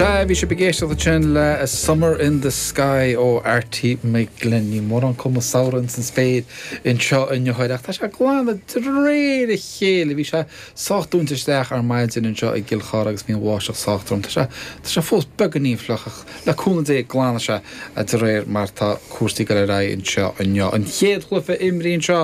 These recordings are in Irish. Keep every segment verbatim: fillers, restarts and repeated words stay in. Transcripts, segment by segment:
Sea, bhí sibh ag éisteacht ansin le A Summer in the Sky ó Arty McGlynn. Níl mórán cuma samhraidh san spéir anseo inniu ach tá sé ag glanadh de réir a chéile. Bhí sé sách dúnta isteach ar maidin anseo i gCill Chartha agus bhí an bháisteach sách trom. Tá sé tá sé fós beagáinín fliuch ach le cúnamh Dé glanfaidh sé de réir mar tá cúrsaí ag dul ar aghaidh anseo inniu. An chéad chluiche imeartha anseo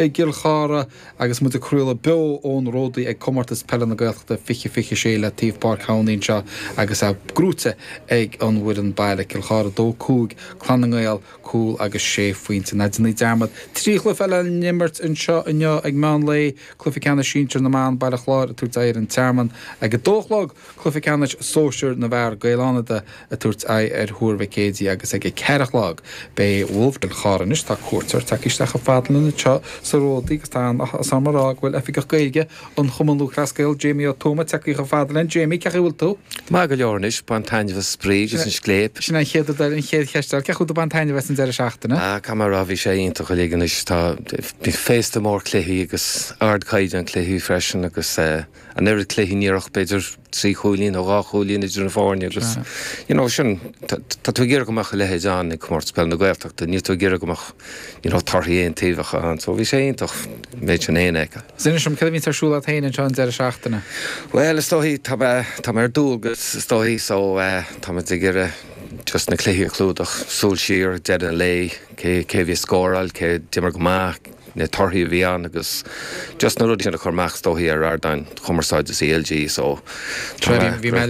i gCill Chartha agus muid ag craoladh beo ón Ródaí ag Comórtas Peile na Gaeltachta fiche fiche sé le taobh Páirc Thamhnaí anseo agus é gnóthaithe ag an bhfoireann baile Cill Chartha dó cúig Clann na nGael cúl agus sé phointe. Ná déanaí dearmad trí chluiche eile á n-imirt anseo inniu ag meán lae cluiche ceannais sinsir na mban Baile Chláir ag tabhairt aghaidh ar an Tearmann ag a dó a chlog cluiche ceannais sóisir na bhfear Gaeil Fhánada ag tabhairt aghaidh ar Thuar Mhic Éadaigh agus ag a ceathair a chlog beidh Wolf Cill Chartha anois tá cuairteoir tagtha isteach chomh fada linn anseo sa Ródaí agus tá áthas orm a rá go bhfuil oifigeach Gaeilge an Chumann Lúthchleas Gael Jamie Ó Tuama tagtha chomh fada linn Jamie cén chaoi a bhfuil tú? Maith go leor anois bain taitneamh as spraoi agus an scléip. Sin an chéad an chéad cheist cén chaoi ar bain taitneamh as an deireadh seachtaine? Ah cá mar bhí sé iontach uilig anois tá bhí féasta mór cluichí agus ardchaighdeán cluichí freisin agus uh, an oiread cluichí níoch b'fhéidir trí chúilín nó dhá chúilín idir na foirne agus you know, sin tá tú ag iarraidh go mbeadh a leithéid ann ag Comórtas Peile na Gaeltachta, níl tú ag iarraidh go mbeadh you know, torthaí aontaobhacha ann, so bhí sé iontach méid sin éon eice. Sin sem cad a bhí ar siúl agat féin anseo an deireadh seachtaine. Well is dóigh tá tá ar dualgas is dóigh so uh, tá ag iarraidh just na cluichí a chlúdach súil siar deireadh an lae cé cé bhí scóráil cé d'imir go maith na torthaí a bhí ann agus just na rudaí sin a chur amach is dóigh ar ardáin chumarsáide CLG so bhí mé